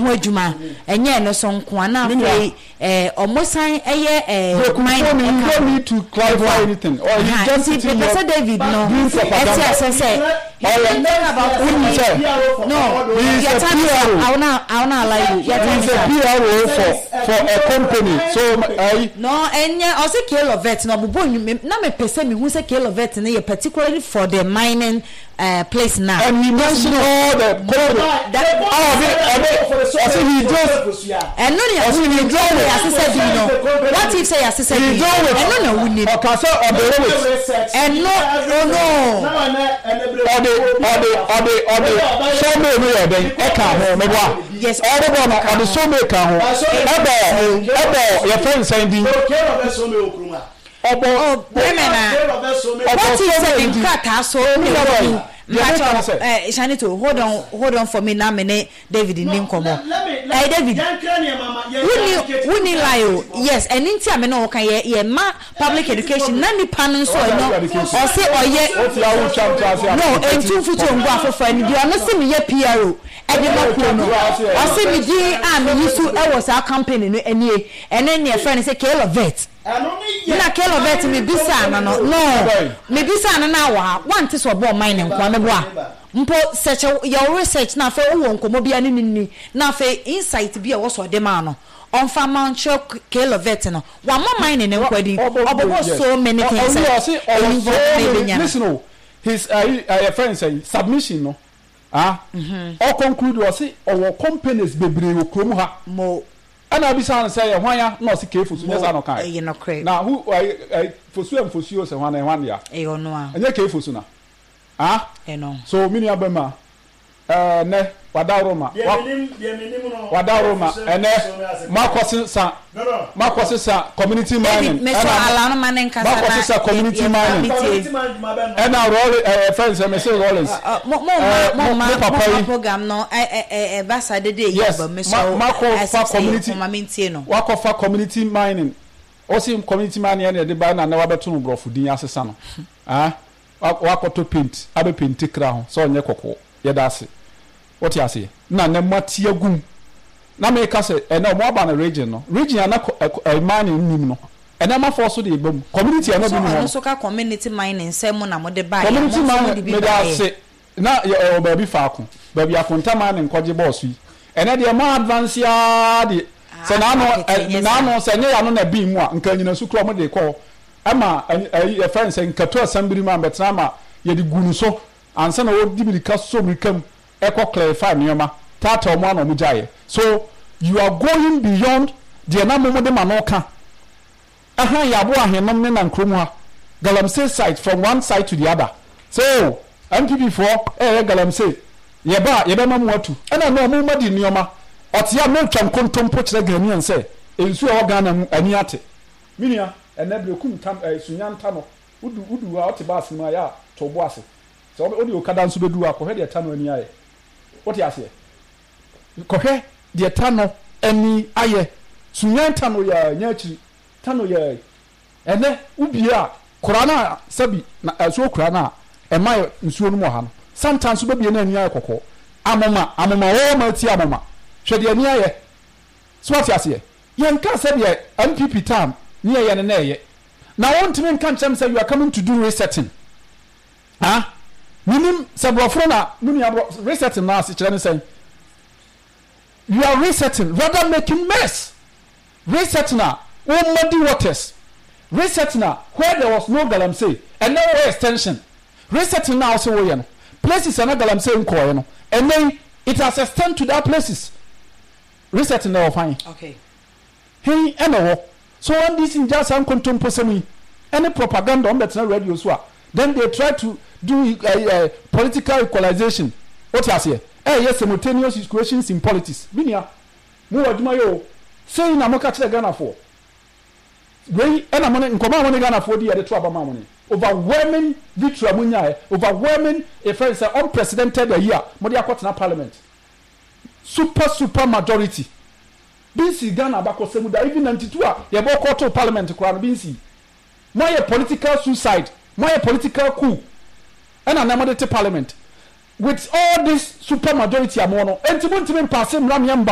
ho adwuma, ɛnyɛ ɛno so nko a, na Me nua. afei ɔmo san ɛyɛ Brekumfo mining ni, you ɛka don't ho. need to clarify anything or he Aha, just nti sitting mepɛ here sɛ David no doing ɛte propaganda. asɛ sɛ Ɔyɛ wonim sɛ no, he is your a time is up. PRO. I will not allow you. Your He time is is a up. PRO for a company, so ɛyi. No, ɛnyɛ ɔsɛ K-Lovet na ɔbobɔ nnwuma na mepɛ sɛ mehu sɛ K-Lovet no yɛ particularly for the mining place na. And he mentioned all the company That a ɔde ɔsɛ he just ɛno ne ɔsɛ he deal with yɛasesɛ din no. What if sɛ yɛasesɛ he din deal with ɛno na wonim? Ɔka sɛ ɔde with Ɛno, oh no. Ɔde sawmill no yɛ dɛn ɛka ho, meboa? Yes. Ɔde bɔ no, ɔde sawmill ka ho, ɛbɔ yɛfrɛ nsɛn din ɔbɔ. Oh, bɛmɛ na ɔbɔ what if sɛ sawmill ne din nkrataa so mi na nua ɛwɔ bɔyi mu deɛ meka ne mpakyɛ sɛ Shanito, hold on, hold on for me na me ne David ni nkɔmmɔ. David, wonni lie o. Yes, ɛno nti a me ne wo ka yɛ yɛ ma public education na nipa no nso ɛno ɔse ɔyɛ wote a wotwa nto ase a no ntu mfutuo ngu afoforɔ ani deɛ ɔno se meyɛ PRO ɛde ma kuo no, ɔse me din a meyi so ɛwɔ saa company no anie, ɛne neɛ frɛ no sɛ K-Lovet. Na K-Lovet mebisa no, mebisa no na wɔ ha wante sɛ ɔbɔ ɔman ne nkoa meboa mpo sɛ kyɛ yɛwo research na afei wowɔ nkɔmmɔ bi a ne ne ni na afei insight bi a ɛwɔ sɛ ɔde maa no ɔmfa ma nkyerɛ K-Lovet no wamma man ne ne nkwa din ɔbɔbɔ so many things ɔwi ɔse ɔwɔ ɛyi so na many ebenya no. Listen o, his friend sɛ submission no, ah, ɔ conclude, ɔse ɔwɔ companies bebree wɔ kurom ha. Mo. Ɛna abisa no sɛ yɛ hwan ya na ɔse K Fosu. Mo. Nyɛ saa na ɔka Ɛyɛ nokorɛ. na who Fosu ɛ Nfosuo sɛ hwan na hwan dea? Ɛyɛ ɔno a. Ɛnyɛ K Fosu na, ah. Ɛno. So mi nua bɛma nɛ wadaworo ma wadaworo ma ɛnɛ makɔ sesa community mining. David mesɔ ala no ma ne nkasa makɔ na sesa community yɛ mining metie. Ɛna Rawlings fɛn sɛ mese Rawlings Mo mo ma mo ma mo mo papa ma yi program no ɛ ɛ ɛ ɛba sa dede yi yes aba ma mesɔ makɔ fa ɛsɛ sɛ yɛ community kɔn ma mentie no. Wakɔ fa community mining, ɔsi community mining ɛna ɛde ba na na wabɛto no borɔfo din asesa no, ah, wakɔtɔ paint abɛ paint kra ho sɛ ɔnyɛ kɔkɔɔ. Yɛda ase, wote aseɛ na ne mo ate agum na meka sɛ ɛnɛ ɔmo aba no region no, region a na mining nim no, ɛnɛ amafoɔ so de eba mu community a na so bi ni hɔ ɔno no. Nso ka community mining sɛ mo na mo de ba yɛ mo community nso mo de mining bi meda ba yɛ. Ase na yɛ ɛwɔ baabi faako baabi akonta mining nkɔgye bɔɔso yi, ɛnɛ deɛ mo advance yaa de sɛ n'ano ɛ n'ano sɛ nyɛ yano na bi mu a nka anyinasu kura ɔmo de kɔ ɛma ɛyi yɛfrɛ no sɛ nkato asɛmbiri mu a mbɛtena ama yɛde gu no so ansa na wɔdi mirika so mirika mu ɛkɔ clarify nneɛma taataa ɔmo ano ɔmo gyaeɛ. So you are going beyond deɛ na mo de ma no ka ɛhan yɛ aboa ahenom ne nan kurom ha galamsey site from one side to the other. So NPP foɔ ɛyɛ galamsey yɛba a yɛbɛma mu atu ɛna no ɔmo ma di nneɛma ɔte a mɛtwa nkontompo kyerɛ Ghanaian sɛ nsuo a ɛwɔ Ghana mu ani ate. Me nua, ɛnɛ Berekum tam Sunya nta no wodu hɔ a wote baase mu a yɛ a to bo ase sɛ wode okada nso bɛdu hɔ a, kɔhwɛ deɛ ta no ani ayɛ. Wote aseɛ? Kɔhwɛ deɛ ta no ani ayɛ. Sunya nta no yɛ nyɛ akyiri ta no yɛ ɛnɛ wobie a kora no a sɛbi na nsuo kora no a ɛma yɛ nsuo no mu wɔ ha no, sometimes wobɛbie no ani ayɛ kɔkɔɔ. Amoma amoma wɔwɔ ma atie amoma, hwɛ deɛ ani ayɛ. So wate aseɛ? Yɛnka sɛdeɛ NPP time ne yɛyɛ no na ɛyɛ na wontumi nka nkyerɛ me sɛ you are coming to do resetting. Ah, menim sɛ borɔfo no na mo nua borɔ resetting no ase kyerɛ ne sɛn. You are resetting rather making mess. Resetting a wo muddy waters, resetting a where there was no galamsey ɛnɛ wo extension, resetting na wo se woyɛ no, places a na galamsey nkɔɔɛ no, ɛnɛ yi it has extend to that places. Resetting na ɛwɔ fan hen ɛna ɛwɔ so NDC ngya saa nkontomposɛm yi ɛne propaganda. Wɔn bɛtena radio so a, then they try to do political equalization. Wote aseɛ? Ɛyɛ simultaneous equations in politics. Mi nua, mo wɔ adwuma yɛ o. Sei na mo ka kyerɛ Ghanafoɔ wei ɛna mo ne nkɔmɔ a mo ne Ghanafoɔ di yɛde to aba maa mo ne overwhelming victory a mo nyaɛ, overwhelming efɛn sɛ unprecedented ayi a mo de akɔtena parliament, super super majority bi nsi Ghana abakɔsɛm da. Even 92 a yɛbɔ kɔɔto parliament koraa no bi nsi. Mo ayɛ political suicide, mo ayɛ political coup ɛna na mo de te parliament with all this super majority a mo no enti mo ntumi mpaase mmara mmea mbande.